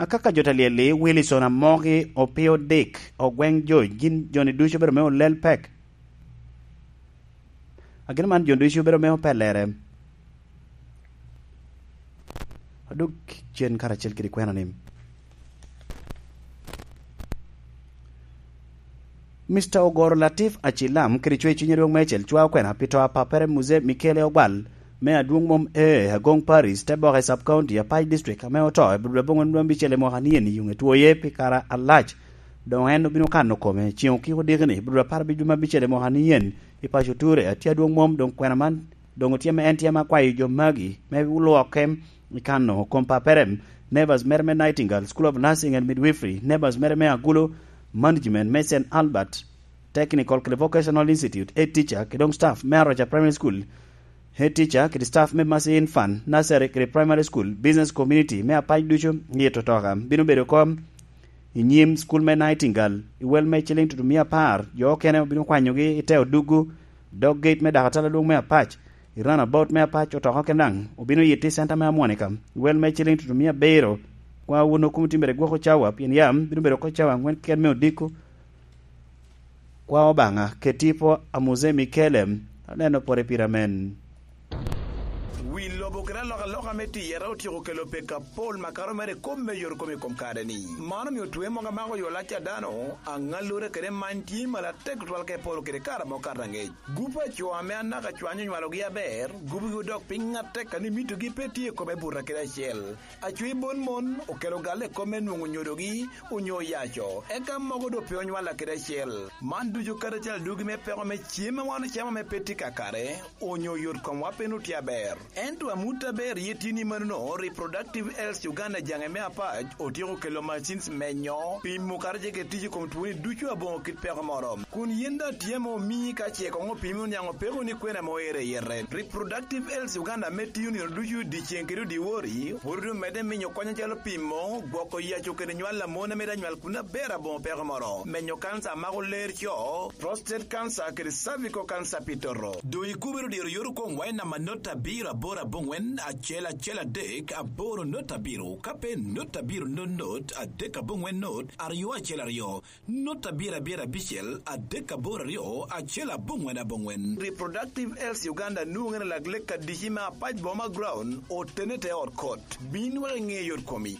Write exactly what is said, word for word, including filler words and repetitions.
Akaka jo ta lyel-li, Wilson Amoki, Opio Dick, Ogweng Joc, gin jo-ni ducu obedo me olel pek. Agin man jo ducu obedo me opellere. Adok cen karacel kede kwena ni, Mister Ogoro Latif Acilam kede cwer cwiny adwoŋ meicel cwao kwena pi to a pappere Muzee Michele Ogwal me Adwoŋ Mom Ee, Agong Parish, te boke Sub County, Apac District, ame oto i budul aboŋwen dwe abicel i mwaka ni en i yuŋe twoye pi kare alac. Doŋ en obino kano kome ceŋ okiko diki-ni, budul apar abic dwe me abicel i mwaka ni en i paco Ture. Atye adwoŋ mom, doŋ kwena man doŋ otye ame en tye ame akwayo jo magi me lwokke i kano kom pappere, Nevers mere me Nightingale School of Nursing and Midwifery, Nevers mere me Agulo Management me Saint Albert Technical kede Vocational Institute, head teacher, kede doŋ staff me Aroca Primary School, head teacher, kede staff me Mercy Infant, nursery, kede primary school, business community me Apac ducu, yito toka bino bedo kom i nyim school me Nightingale, i wel me ciling tutumia apar, jo okene obino kwanyogi i te oduggu, dog gate me dakatala adwoŋ me Apac, i runabout me Apac, otoka okene daŋ obino yito i center me Amwonika, i wel me ciling tutumia abiro. Kwa wun okum timere gwoko cawa, pien yam bino bedo oko cawa aŋwen keken me odiko. Kwa Obaŋa, ket tipo a Muzee Michele, aneno pore pire amen. Wi lobo kede alokaloka me tiyere otyeko kelo peko apol makato mere i kop me yot kom i kom kare-ni. Man omio twe mogo amako yo lac a dano, aŋallure kede many tye malo atek tutwal ka iporo kede kare amo kato aŋec. Gup a co ame anaka cwanyo onywalogi aber, gupgi odok piny atek ka ni mitogi pe tye i kome buta kede acel. Acwi bon mon okelo galle i kop me nwoŋo nyodogi onyo oyaco, eka mogo doŋ pe onywalla kede acel. Man ducu kadi acel adugi me peko me cem a wan ocamo ame pe tye kakare, onyo yot komwa pe nut tye aber. Ento amut aber ye tye ni manono, Reproductive Health Uganda jaŋe me Apac otyeko kelo machines menyo, pimo kadi ce kede tic i kom twoni ducu aboŋo kit peko moro. Kun yin daŋ tye ame omii ka ce koŋ opimi oniaŋ opeko ni kwena ame oero i yete. Reproductive Health Uganda ame tiyo nino ducu dyeceŋ kede odyewor-ri, pwod omedde minyo kony acalo pimo, gwoko yaco kede nywal a mon ame daŋ nywal kun aber aboŋo peko moro, menyo kanca a mako ler co, prostate cancer kede cervical cancer pi toto. Doŋ ikobere diro yot okoŋ wa i namba not abiro aboro aboŋwen acel acel adek aboro not abiro, ka pe not abiro not not adek aboŋwen not aryo acel aryo. Not abiro abiro abicel adek aboro aryo acel aboŋwen aboŋwen. Reproductive Health Uganda nwoŋere lak lek adici me Apac Boma Ground, otene te ot kot. Bin wek iŋe yot komi.